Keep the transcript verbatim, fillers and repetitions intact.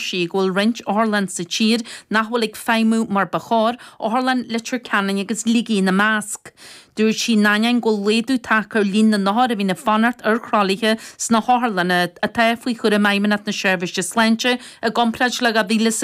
sí go bhfuil roinnt otharlann sa tír nach bhfuil ag feidhmiú mar ba chóir, Otharlann Leitir Ceanainn agus Shligigh ina measc. Dúirt sí in ainneoin go bhfuil laghdú tagtha ar líon na n-othar a bhíonn ag fanacht ar thralaithe sna hotharlanna atá faoi chúram Fheidhmeannacht na Seirbhíse Sláinte i gcomparáid le dhá mhíle is a